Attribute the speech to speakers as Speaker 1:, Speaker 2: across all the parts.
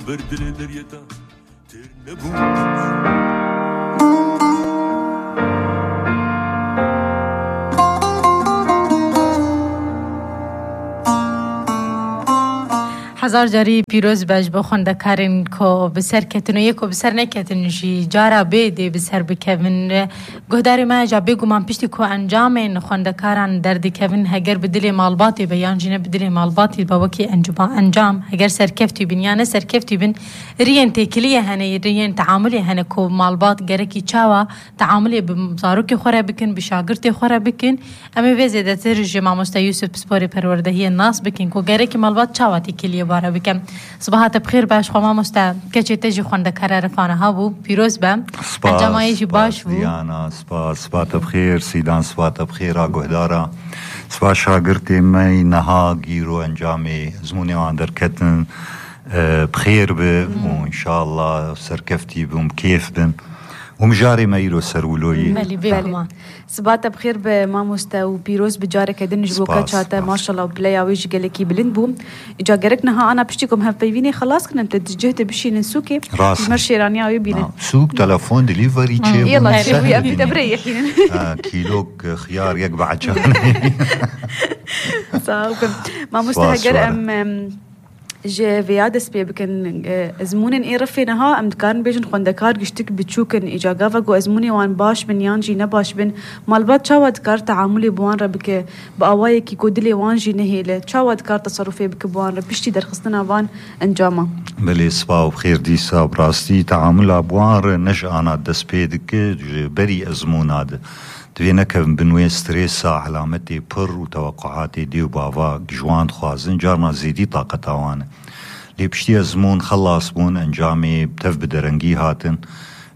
Speaker 1: بردل دريتا ترنبوش
Speaker 2: هزار جاری پیروز باش با خوندکارین کو بسر کتن و یکو بسر نکتن جی جارا بیده بسر بکوین گهداری ما جا بگو من پشتی کو انجامین خوندکاران دردی کوین هگر بدلی مالباتی بیان جینه بدلی مالباتی با وکی انجام هگر سرکفتی بین یا نه سرکفتی بین رین تکلیه هنه رین تعاملی هنه کو مالبات گرکی چاوا تعاملی بمزاروکی خوره بکن بشاگرتی خوره بکن اما ویزه ده ترجی ماموستا یوسف بسپوری پروردهی الناس بکن کو گرکی مالبات چاوا تکلیه باره بکن. صباحات بخیر باش خواهم مستا کچه تجی خوندکار رفانه ها بو پیروز بم انجامایشی باش بو
Speaker 3: دیانا سپاس بخیر سیدان سپاس بخیر آگوهدارا سپاس شاگرتی می نها گیرو انجامی زمونی وان درکتن بخیر به و انشاءالله سرکفتی بم کیف بن ومجاري ما يرو سرولوي
Speaker 2: ملي بيكما
Speaker 4: صباحتا بخير بماموستا وبيروز بجارك ادن جبوكا شاتا ما شاء الله بلايا ويجي قالكي بلندبو اجا قركنا ها انا بشتيكم هفبيني خلاص كنا متجهت بشي نسوكي مرشي رانيا ويبينا
Speaker 3: سوق تلفون ديليفري تشي
Speaker 4: يلا شوفي ابي تبريح
Speaker 3: كيلوك خيار يقبع جاني
Speaker 4: صاحب ماموستا هجر ام جه فيادس بيبكن ازمونن اي رفينها ام كان بيجن خوندكار گشتك بتشوكن اجاغافا جو ازموني وان باش بن يانجي نباش بن مالبات شاواد كار تعاملي بوان ربك باواي كي كودلي وانجي نهيله شاواد كار تصرفي بك بوان ربشتي درخصنا وان انجاما
Speaker 3: بلي صباح بخير ديسا براستي تعامل بوان نش انا دس بيدك بري ازمون هذا دوينك بنوي ستريسا علامتي بر وتوقعاتي ديو بافا جوان خوازن جارنا زيدي طاقة وانا لي بشتي ازمون خلاص بون انجامي بتف بدرنجي هاتن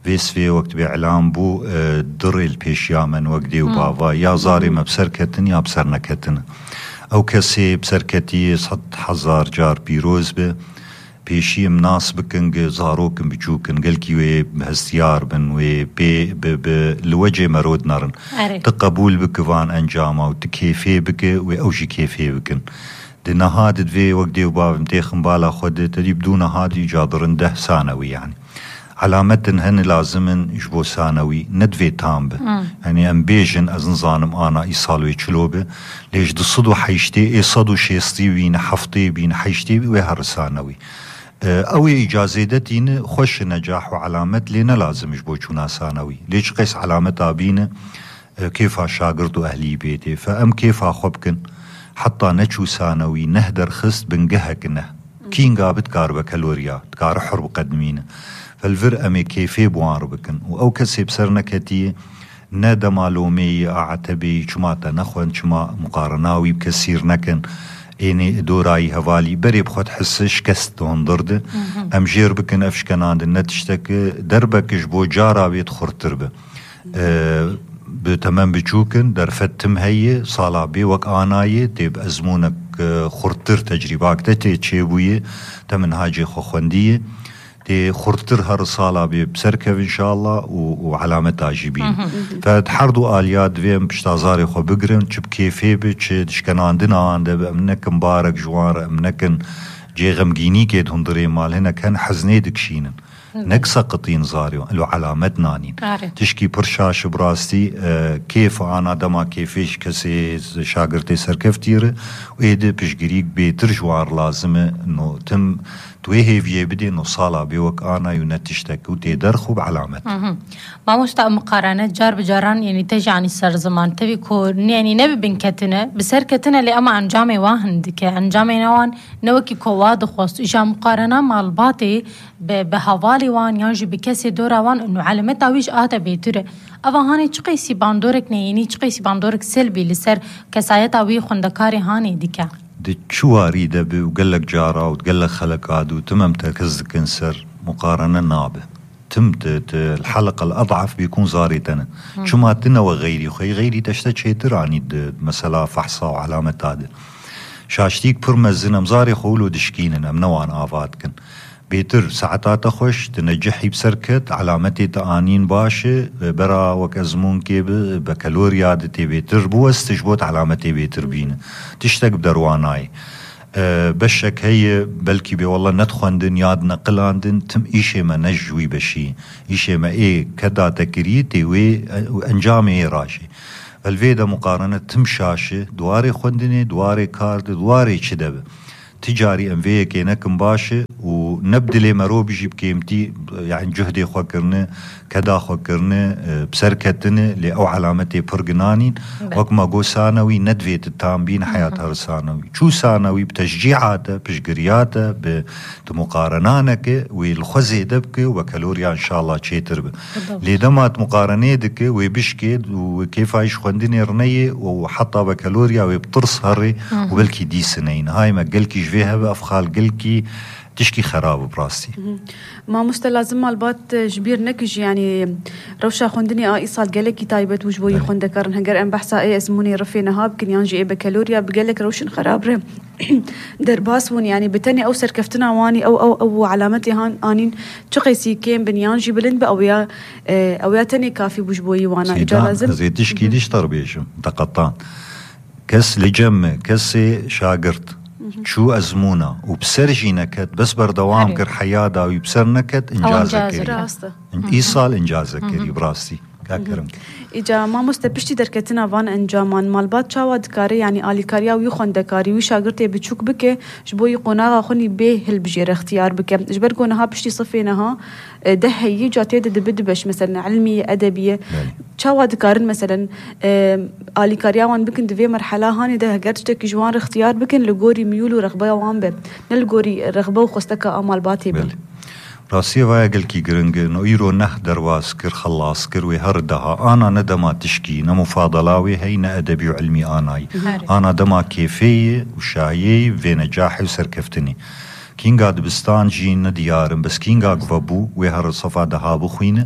Speaker 3: فيس في وقت بإعلام بو در البيشيا من وقت ديو بافا يا زاري ما بسركتن يا بسرنكتن او كسي بسركتي صد حزار جار بيروز به پیشی مناس بکن زاروکن بچوکن گلکی وی هستیار بن وی به لوجه مرود نرن تقبول بکوان انجامه و تکیفی بکه و اوجی کیفی بکن ده نهاد دوی وقت دیو باب متیخن بالا خود تدی بدون هادی جادرن 10 ثانوي يعني علامتن هن لازمن جبو ثانوي ندوي تام به يعني ام بيجن از نظانم انا ايصالوي چلوبه ليش دصدو حيشتي ايصادو شيستي بين حفطي بين حيشتي وهر ثانوي اوي اجازتين خوش نجاح وعلامت لنا لازم جبو چونا ثانوي ليش قيس علامتها بين كيف شاگرد اهلي بيتي فام كيف خبكن حتى نچو ثانوي نهدر خست بنجهكنه كين قابت كاربه كالوريا كار حرب قدمينه فالفر امي كيفي بوان ربكن او كسي بسرنا كتي نادا معلومي اعتبي چماتا نخوان چما مقارناوي بكسير نكن اینی دورائی هوالی بری بخود حسش کست هندرده ام جیر بکن افشکناند نتشتک دربکش بو جارا بيت خورتر به بتمام بچوکن در فتم هی صالابی وک آنایی تیب ازمونک خورتر تجرباک تی چه بویه تمن حاجی خوخوندیه دي خورتر هر صالة بسركب إن شاء الله وعلامة عجيبين فتحردوا آليات فيم بشتازاري خو بقرن چب كيفي بچ دشكن عندنا عنده بأمنك مبارك جوار أمنكن جي غمجيني كيد هندري مال هنا كان حزني دكشينن نكسا قطين زاريو لو علامت نانين تشكي برشاش براستي كيف أنا دما كيفيش كسي شاگرتي سركفتير وإيدي بشجريك بيتر جوار لازمه إنه تم تويه في بدي إنه صالة بيوك أنا ينتشتك وتقدر خوب علامات.
Speaker 2: ما مستوى مقارنة جار بجاران يعني تجي عن السر زمان تبي كون يعني نبي بنكتنا بسر كتنا اللي أما عن جامع واحد كعن جامع نوان نوكي كواد خاص إجا مقارنة مع الباطي بهوالي وان ينجي بكسي دورا وان إنه علامتها ويش آتا بيتره أفا هاني تقيسي باندورك نيني تقيسي باندورك سلبي لسر كسايتا وي خوندكاري هاني ديكا.
Speaker 3: دي شواري دبي وقلك جارة وتقلك خلق عادو تمام تركزك انسر مقارنة نابه تمت الحلقة الأضعف بيكون زاريتنا شو ما تنا وغيري وخي غيري تشتت شيء تراني مثلا فحصة وعلامة هذا شاشتيك برمزنا مزاري خولو دشكيننا منوان آفاتكن بيتر ساعتات خوش تنجحي بسركت علامتي تآنين باشي برا وكازمون كي بكالوريا دتي بيتر بو استجبوت علامتي بيتر بينا تشتك بدرواناي بشك هي بلكي بي والله ندخندن ياد نقلاندن تم إيشي ما نجوي بشي إيشي ما إيه كدا تكريتي وأنجامي راشي الفيدا مقارنة تمشاشي دواري خندني دواري كارد دواري شدب تجاري انفيه كينك مباشي ونبدلي مرو بيجي بكيمتي يعني جهدي خوكرني كدا خوكرني بسركتني لأو علامتي برقنانين وكما قو ثانوي ندفيت التامبين حياتها ثانوي شو ثانوي بتشجيعاته بشجرياته بمقارنانك والخزي دبك وكالوريا ان شاء الله تشيتر لدمات مقارنيدك ويبشكد وكيف عيش خندني رنيه وحطها بكالوريا ويبطرس هري وبلكي دي سنين هاي ما قلكي جفيها بأفخال قلكي تشكي خراب براستي
Speaker 4: ما مستلازم مالبات جبير نكج يعني روشا خندني إيصال قالك تايبت وجبوي خندكرن هنقر أن بحثا إيه اسموني رفينا هاب كن ينجي إيه بكالوريا بقالك روشن خراب درباسون يعني بتاني أو سركفتنا واني أو علامتي هان آنين تقيسي كيم بنيانجي بلند أو يا تاني كافي بوجبوي وانا
Speaker 3: إجازم زي تشكي ديش تربيشم تقطان كس لجمة كسي شاقرت شو أزمونا وبسرجي نكت بس بردوام كر حيادا ويبسر نكت إنجازك إيصال إنجازك كري براستي كاكرم
Speaker 4: إجا ما مستبشتي دركتنا فان انجامان مالبات شاواد كاري يعني آلي كاريا ويخون دكاري وشاقرتي بتشوك بك جبوي قناغا خوني بيه البجير اختيار بك جبر قونها بشتي صفينها دهي جاتي دبدبش مثلا علمية أدبية شاواد كارن مثلا آلي كاريا وان بكن دفي مرحلة هاني ده قرتك جوان اختيار بكن لغوري ميولو رغبة وان به نلغوري رغبة وخستك أمال باتي بل
Speaker 3: راسي ويا قلكي قرنج انه ايرو نه درواس كر خلاص كر وهردها انا ندما تشكي نمفاضلاوي هينا ادبي وعلمي انا دما كيفيه وشايي في نجاحي وسركفتني كين قاد بستان جين ديارم بس كين قاد فابو وهر صفا دهابو خوينه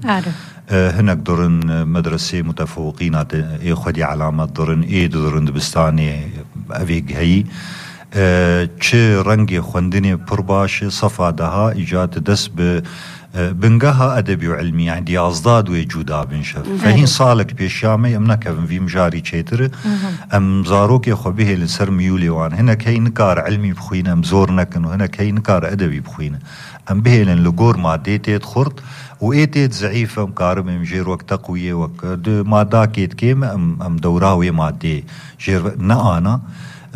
Speaker 3: هناك درن مدرسه متفوقين اي خدي علامات درن اي درن بستاني افيق هي چه رنگی خوندنی پرباش صفا دها ایجاد دست به بنگها ادبی و علمی يعني دي ازداد وجودا بنشف فهين صالك بيشامي ام نكفن في مجاري تشيتر ام زاروك يخو به لسر ميولي وان هنا كاي نكار علمي بخوينا ام زور نكن وهنا كاي نكار ادبي بخوينا ام به لغور ماديتيت خرط وايتيت ضعيفه مقارب مجير وقت تقويه وقت ما داكيت كيم ام دوراوي مادي جير انا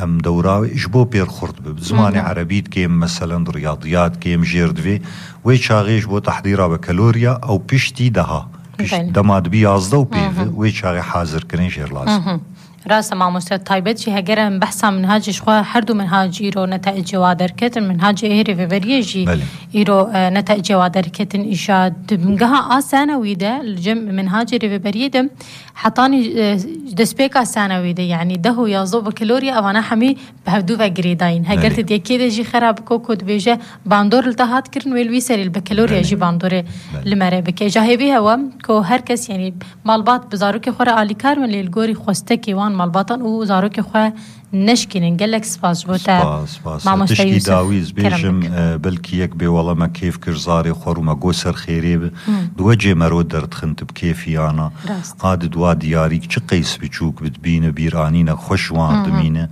Speaker 3: ام دوراوي اجبو بير خرط بزماني عربيت كيم مثلا رياضيات كيم جيردفي ويشاغيش بو تحضيرها بكالوريا او بيشتي دها دماد بيازده وبيفي ويشاغي حاضر كرين جير لازم
Speaker 2: راسا مع مستوى طيبت شي هجرة بحثا منهاج شخوا حردو منهاج إيرو نتائج جوادر كتن منهاج إيري في بريجي إيرو نتائج جوادر كتن إيشاد بمجها ثانوي ده الجم منهاج إيري في بريدم حطاني دسبيكا ثانوي ده يعني ده يازو بكالوريا أو أنا حمي بهدو فجريدين هجرت دي كده جي خراب كوكود بيجا باندور التهات كرن ويلويسر البكالوريا جي باندور لمربك جاهبي هوا كو هركس يعني مالبات بزاروك خورا آلي كارمن للجوري خوستكي وان مالباطن وزاروك خواه نشكي نقلك سباس بوتا
Speaker 3: مع مستوى داويز بيجم بلكي يكبي والله ما كيف كرزاري خور وما قوسر خيريب دوجه مرود درت خنت بكيفي انا قاد دوا دياريك چقيس بچوك بتبين بيرانينا خوشوان دمينه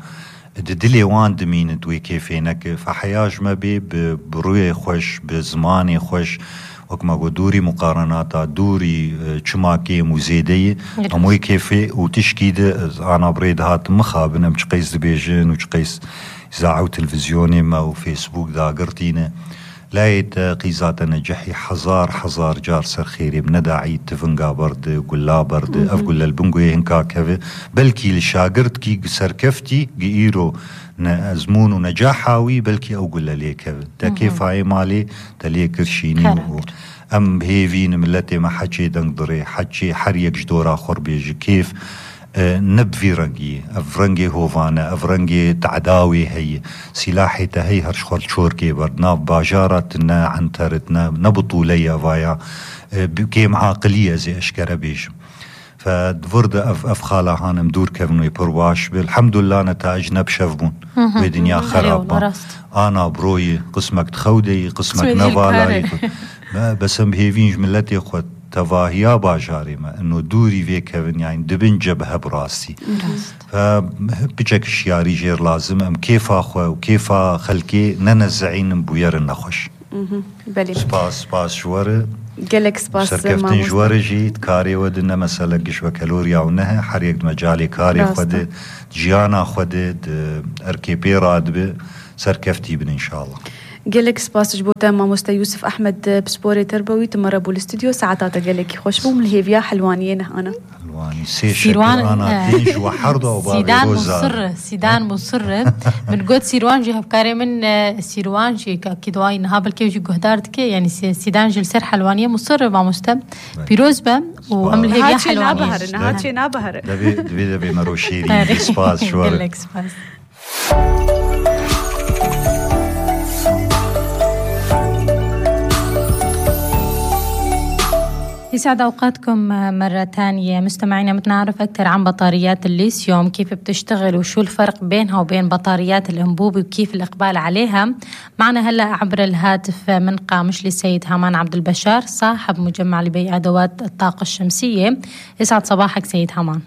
Speaker 3: دلي وان دمينه دوي كيفينك فحياج ما بي بروي خوش بزماني خوش وكما قو دوري مقارناتا دوري چماكي مزيدي اموي كيفي وتشكيد انا بريد هات مخابن ام چقيس دبيجن وچقيس اذاعه وتلفزيوني ما وفيسبوك دا قرتينه لايت قيزات نجحي حزار جار سر خيري بنداعي تفنقا برد قلا برد افقل البنقوي هنكا كفي بلكي لشاقرت كي سركفتي قيرو نزمون ونجاحاوي بلكي او قل ليك دا كيف هاي مالي تلي كرشيني ام هيفين ملتي ما حكي دنقدري حكي حريق جدورا خربيج كيف نبفي رنجي افرنجي هوفانا افرنجي تعداوي هي سلاحي تهي هرش خور شوركي بردنا باجارتنا عنترتنا نبطولية فايا بكيم عاقلية زي اشكرا بيش فدفرد افخالا هانم دور كفنوي برواش بالحمد لله نتائج نبشفبون بدنيا خرابة انا بروي قسمك تخودي قسمك نفالاي بس ام هيفين جملتي خود تواهيا باجاري ما إنه دوري في كيفن يعني دبن جبهة براسي فبجك شياري جير لازم أم كيف أخوة وكيف خلكي ننزعين بوير النخش
Speaker 4: بلي
Speaker 3: سباس جوار
Speaker 4: قالك سباس
Speaker 3: سركفتن جوار جيت كاري ودنا مسألة قشوة كالوريا ونها حريق مجالي كاري خود جيانا خود أركيبي رادبه سركفتي بن إن شاء الله
Speaker 4: قالك سباس جبوتا ماموستا يوسف أحمد بسبوري تربوي تمربو الاستوديو ساعتاتا قالك خوش بو من الهيفيا حلوانيين أنا
Speaker 3: حلواني سيروان أنا بيج وحرضة وبابي
Speaker 2: سيدان مصر من قد سيروان جي هبكاري من سيروان جي كدواي نهابل كيف جي قهدارتك يعني سيدان جي السر حلوانية مصر ماموستا بيروز با وعمل الهيفيا حلوانيين
Speaker 4: هاتشي نابهر
Speaker 3: دبي مروشيري سباس شوار
Speaker 2: قالك سباس يسعد أوقاتكم مرة تانية مستمعينا. متنعرف أكثر عن بطاريات الليثيوم، كيف بتشتغل وشو الفرق بينها وبين بطاريات الأنبوبي وكيف الإقبال عليها. معنا هلأ عبر الهاتف من قامشلي السيد هامان عبد البشار صاحب مجمع لبيع أدوات الطاقة الشمسية. يسعد صباحك سيد هامان.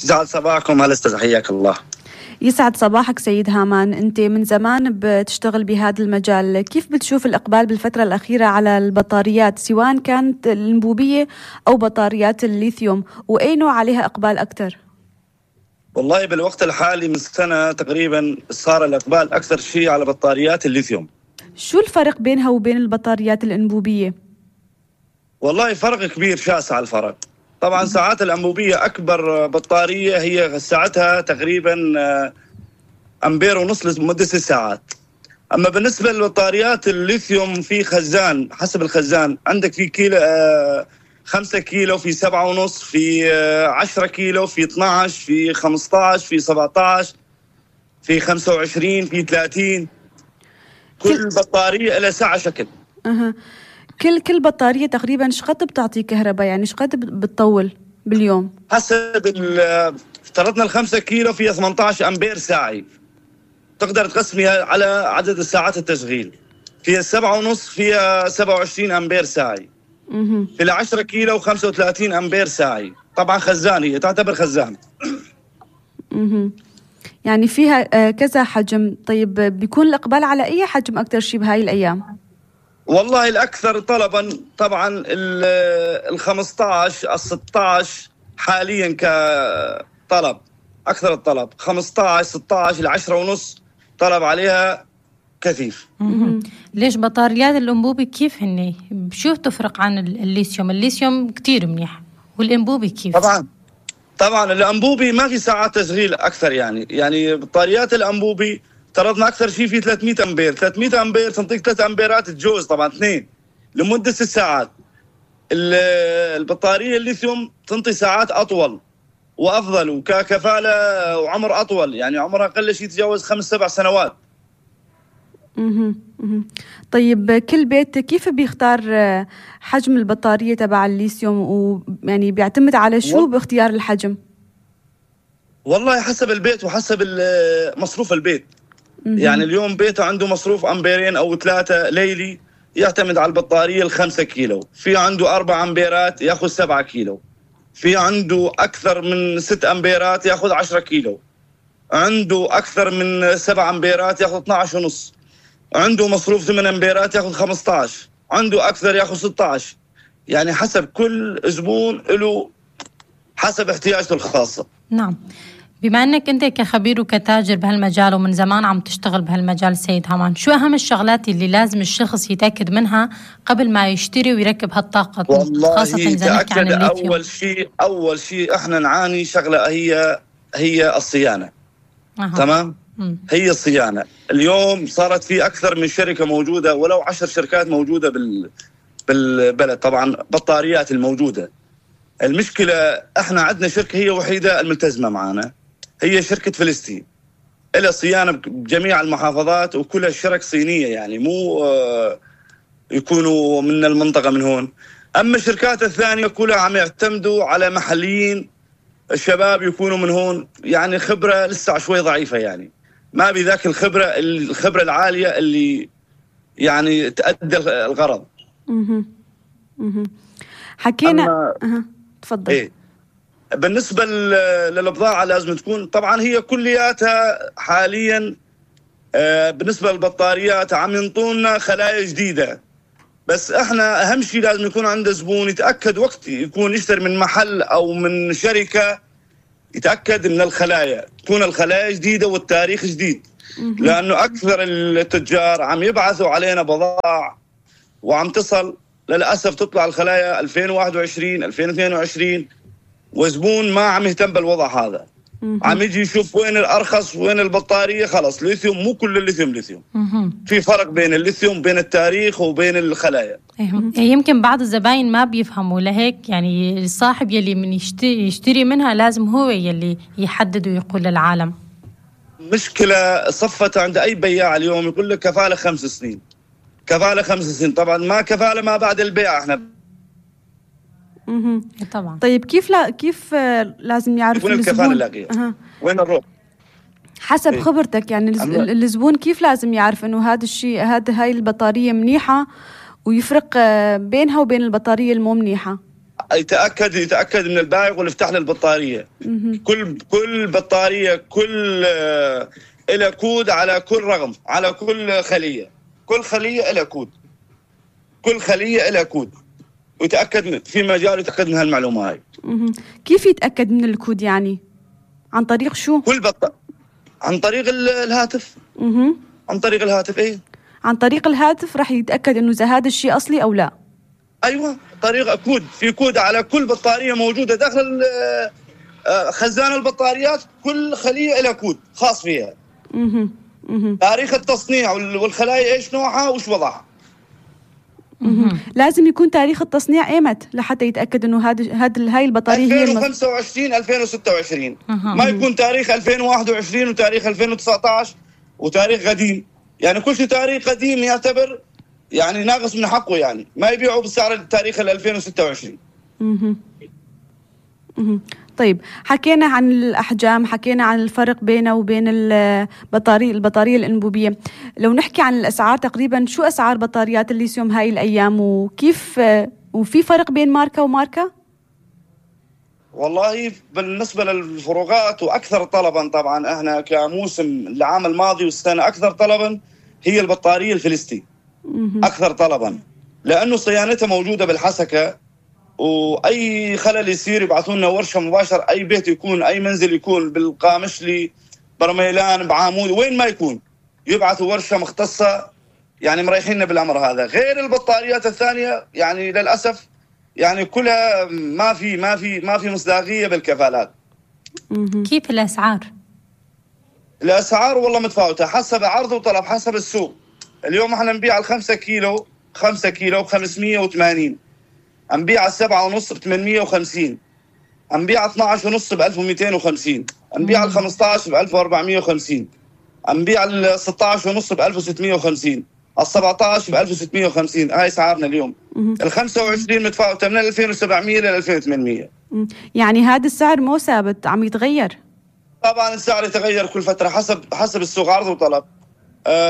Speaker 1: يسعد صباحكم. هلا استاذ حياك الله.
Speaker 4: يسعد صباحك سيد هامان. أنت من زمان بتشتغل بهذا المجال، كيف بتشوف الإقبال بالفترة الأخيرة على البطاريات سواء كانت الأنبوبية أو بطاريات الليثيوم، وأي نوع عليها إقبال أكثر؟
Speaker 1: والله بالوقت الحالي من سنة تقريبا صار الإقبال أكثر شيء على بطاريات الليثيوم.
Speaker 4: شو الفرق بينها وبين البطاريات الأنبوبية؟
Speaker 1: والله فرق كبير شاسع الفرق. طبعا ساعات الأنبوبية أكبر بطارية هي ساعتها تقريبا أمبير ونص لمدة 6 ساعات. أما بالنسبة للبطاريات الليثيوم في خزان، حسب الخزان عندك في كيلو 5 كيلو، في 7.5، في 10 كيلو، في 12، في 15، في 17، في 25، في 30. كل بطارية لها ساعة شكل.
Speaker 4: كل بطارية تقريبا شقد بتعطي كهرباء، يعني شقد بتطول باليوم؟
Speaker 1: حسب افترضنا 5 كيلو فيها 18 أمبير ساعي، تقدر تقسميها على عدد الساعات التشغيل. فيها 7.5 فيها 27 أمبير ساعي. في 10 كيلو 35 أمبير ساعي. طبعا خزانية تعتبر خزان.
Speaker 4: يعني فيها كذا حجم. طيب بيكون الإقبال على أي حجم أكتر شيء بهاي الأيام؟
Speaker 1: والله الأكثر طلبا طبعا 15 16 حاليا كطلب، أكثر الطلب 15 16 10.5 طلب عليها كثيف.
Speaker 2: ليش بطاريات الأنبوبي كيف هني؟ شو تفرق عن الليثيوم؟ الليثيوم كتير منيح والأنبوبي كيف؟
Speaker 1: طبعا الأنبوبي ما في ساعات تشغيل أكثر، يعني بطاريات الأنبوبي افترضنا أكثر شيء في 300 أمبير. 300 أمبير تنطيك 3 أمبيرات تجوز طبعا 2 لمدة 6 ساعات. البطارية الليثيوم تنطي ساعات أطول وأفضل وككفالة وعمر أطول، يعني عمرها أقل شيء تجاوز 5-7 سنوات.
Speaker 4: طيب كل بيت كيف بيختار حجم البطارية تبع الليثيوم، ويعني بيعتمد على شو باختيار الحجم؟ والله
Speaker 1: حسب البيت وحسب مصروف البيت. يعني اليوم بيته عنده مصروف أمبيرين أو 3 ليلي يعتمد على البطارية 5 كيلو. في عنده 4 أمبيرات يأخذ 7 كيلو. في عنده أكثر من 6 أمبيرات يأخذ 10 كيلو. عنده أكثر من 7 أمبيرات يأخذ 12.5. عنده مصروف 8 أمبيرات يأخذ 15. عنده أكثر يأخذ 16. يعني حسب كل زبون له حسب احتياجته الخاصة.
Speaker 2: نعم. بما أنك أنت كخبير وكتاجر بهالمجال ومن زمان عم تشتغل بهالمجال سيد هامان، شو أهم الشغلات اللي لازم الشخص يتأكد منها قبل ما يشتري ويركب هالطاقة، خاصة إذا نحكي عن الليثيوم؟
Speaker 1: أول شيء إحنا نعاني شغلة هي الصيانة. تمام؟ هي الصيانة. اليوم صارت في أكثر من شركة موجودة، ولو 10 شركات موجودة بالبلد. طبعا بطاريات الموجودة. المشكلة إحنا عندنا شركة هي وحيدة الملتزمة معنا، هي شركة فلسطين، إلها صيانة بجميع المحافظات وكلها شركة صينية، يعني مو يكونوا من المنطقة من هون. أما الشركات الثانية كلها عم يعتمدوا على محليين الشباب يكونوا من هون، يعني خبرة لسه شوي ضعيفة، يعني ما بذاك الخبرة العالية اللي يعني تأدي الغرض.
Speaker 4: حكينا تفضل.
Speaker 1: إيه؟ بالنسبة للبضاعة لازم تكون طبعا هي كلياتها حاليا بالنسبة للبطاريات عم ينطونا خلايا جديدة، بس احنا اهم شيء لازم يكون عند زبون يتأكد وقت يكون يشتري من محل او من شركة، يتأكد من الخلايا تكون الخلايا جديدة والتاريخ جديد، لأنه أكثر التجار عم يبعثوا علينا بضائع وعم تصل للأسف تطلع الخلايا 2021 2022 وزبون ما عم يهتم بالوضع هذا. عم يجي يشوف وين الأرخص وين البطارية، خلص ليثيوم، مو كل الليثيوم ليثيوم، في فرق بين الليثيوم بين التاريخ وبين الخلايا.
Speaker 2: يمكن بعض الزباين ما بيفهموا، لهيك يعني الصاحب يلي من يشتري منها لازم هو يلي يحدد ويقول للعالم.
Speaker 1: مشكلة صفت عند أي بياع اليوم يقول لك كفالة 5 سنين، كفالة 5 سنين، طبعا ما كفالة ما بعد البيع احنا.
Speaker 2: طبعا.
Speaker 4: طيب كيف لازم يعرف
Speaker 1: وين الكفالة اللاقية؟ وين نروح؟
Speaker 4: حسب خبرتك يعني الزبون كيف لازم يعرف انه هذا الشيء هاي البطارية منيحة ويفرق بينها وبين البطارية المو منيحة؟
Speaker 1: يتأكد من البائع يقول افتح لي البطارية. كل بطارية كل إلى كود على كل رقم على كل خلية، كل خلية إلى كود، كل خلية إلى كود، ويتأكد في مجال يتأكد من هالمعلومة هاي.
Speaker 4: كيف يتأكد من الكود يعني؟ عن طريق شو؟
Speaker 1: عن طريق الهاتف. عن طريق الهاتف. ايه
Speaker 4: عن طريق الهاتف راح يتأكد انه اذا هذا الشيء اصلي او لا.
Speaker 1: ايوه طريقة كود، في كود على كل بطارية موجودة داخل خزان البطاريات، كل خلية لها كود خاص فيها. تاريخ التصنيع والخلايا ايش نوعها وش وضعها.
Speaker 4: لازم يكون تاريخ التصنيع ايمت لحتى يتأكد انه هاي البطارية هي
Speaker 1: 2025 2026 ما يكون تاريخ 2021 وتاريخ 2019 وتاريخ قديم، يعني كل شيء تاريخ قديم يعتبر يعني ناقص من حقه، يعني ما يبيعوا بسعر التاريخ 2026.
Speaker 4: طيب حكينا عن الأحجام، حكينا عن الفرق بينه وبين البطارية الأنبوبية. لو نحكي عن الأسعار تقريبا شو أسعار بطاريات الليثيوم هاي الأيام وكيف وفي فرق بين ماركة وماركة؟
Speaker 1: والله بالنسبة للفروقات وأكثر طلبا طبعا احنا كموسم العام الماضي والسنة أكثر طلبا هي البطارية الفلسطي أكثر طلبا، لأنه صيانتها موجودة بالحسكة، واي خلل يصير يبعثوا لنا ورشه مباشر، اي بيت يكون اي منزل يكون بالقامشلي برميلان بعامود وين ما يكون يبعثوا ورشه مختصه، يعني مريحيننا بالامر هذا. غير البطاريات الثانيه يعني للاسف يعني كلها ما في مصداقيه بالكفالات.
Speaker 2: كيف الاسعار؟
Speaker 1: الاسعار والله متفاوته حسب عرض وطلب حسب السوق. اليوم احنا نبيع ال5 كيلو ب 580، نبيع 7.5 ب 850، نبيع 12.5 ب 1250، نبيع 15 ب 1450، نبيع 16.5 ب 1650، 17 ب 1650. هاي اسعارنا اليوم. 25 متفاوته من 2700 ل 2800.
Speaker 4: يعني هذا السعر مو ثابت، عم يتغير؟
Speaker 1: طبعا السعر يتغير كل فتره حسب السوق عرض وطلب.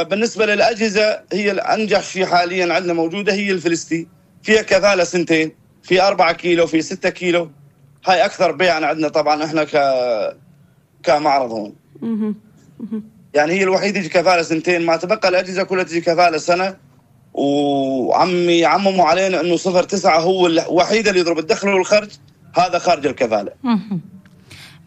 Speaker 1: بالنسبه للاجهزه هي الانجح شيء حاليا عندنا موجوده هي الفلسطي، فيها كفالة 2 سنين، في 4 كيلو، في 6 كيلو. هاي أكثر بيعنا عندنا طبعا إحنا كمعرض هون. يعني هي الوحيدة تجي كفالة 2 سنين، ما تبقى الأجهزة كلها تجي كفالة سنة، يعمموا علينا إنه 0.9 هو الوحيد اللي يضرب الدخل والخرج، هذا خارج الكفالة.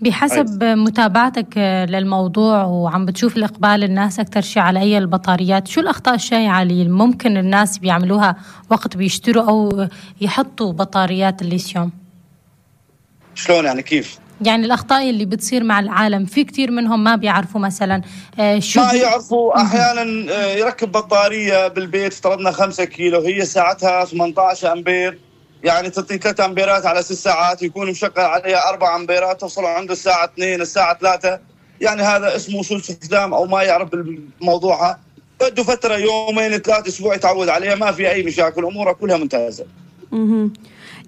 Speaker 2: بحسب متابعتك للموضوع وعم بتشوف الإقبال الناس أكتر شيء على أي البطاريات، شو الأخطاء الشائعة اللي ممكن الناس بيعملوها وقت بيشتروا أو يحطوا بطاريات الليثيوم؟
Speaker 1: شلون يعني كيف؟
Speaker 2: يعني الأخطاء اللي بتصير مع العالم، في كتير منهم ما بيعرفوا مثلا شو
Speaker 1: ما يعرفوا. أحيانا يركب بطارية بالبيت افترضنا 5 كيلو، هي ساعتها 18 أمبير، يعني تعطي 3 أمبيرات على 6 ساعات، يكون مشغل عليها 4 أمبيرات، توصلوا عنده الساعة 2 الساعة 3. يعني هذا اسمه سوء استخدام أو ما يعرف بالموضوع. بده فترة يومين 3 أسبوع يتعود عليها، ما في أي مشاكل، أمورها كلها ممتازة.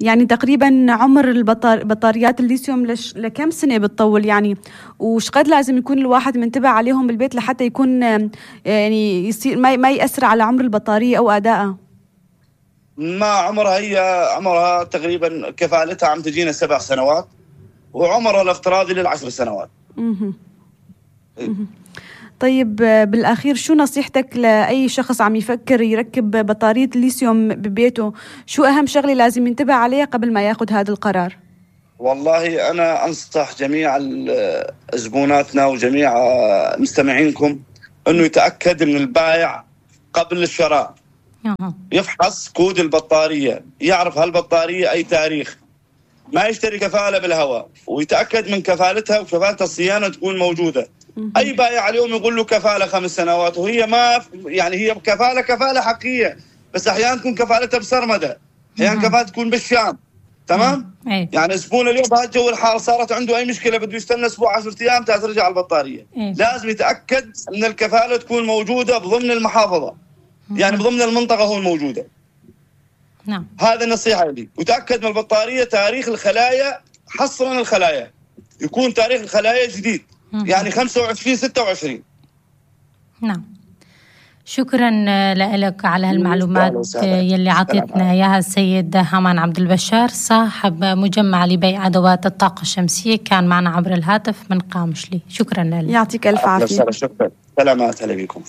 Speaker 4: يعني تقريبا عمر بطاريات الليثيوم لكم سنة بتطول يعني؟ وش قد لازم يكون الواحد منتبه عليهم بالبيت لحتى يكون يعني يصير ما يأثر على عمر البطارية أو أدائها؟
Speaker 1: ما عمرها، هي عمرها تقريبا كفالتها عم تجينا 7 سنوات، وعمرها الافتراضي لل10 سنوات.
Speaker 4: طيب بالأخير شو نصيحتك لأي شخص عم يفكر يركب بطارية الليثيوم ببيته؟ شو أهم شغلة لازم ينتبه عليها قبل ما ياخد هذا القرار؟
Speaker 1: والله أنا أنصح جميع زبوناتنا وجميع مستمعينكم أنه يتأكد من البائع قبل الشراء. يفحص كود البطارية، يعرف هالبطارية أي تاريخ، ما يشتري كفالة بالهواء، ويتأكد من كفالتها وكفالة الصيانة تكون موجودة. أي بائع اليوم يقول له كفالة 5 سنوات، وهي ما يعني هي كفالة حقيقية، بس أحيانا تكون كفالتها بسرمدة، أحيانا كفالة تكون بالشام. تمام؟ يعني زبون اليوم بهذا الجو الحار صارت عنده أي مشكلة بده يستنى أسبوع 10 أيام ترجع البطارية. لازم يتأكد أن الكفالة تكون موجودة بضمن المحافظة، يعني بضمن المنطقة هو الموجودة.
Speaker 2: نعم.
Speaker 1: هذا النصيحة لي. وتأكد من البطارية تاريخ الخلايا، حصرا الخلايا يكون تاريخ الخلايا جديد، يعني 25-26.
Speaker 2: نعم. شكرا لك على هالمعلومات يلي عطيتنا اياها السيد هامان عبد البشار، صاحب مجمع لبيع ادوات الطاقة الشمسية، كان معنا عبر الهاتف من قامشلي. شكرا لك.
Speaker 4: يعطيك الف عافية.
Speaker 1: شكرا. سلامات. هلا بكم.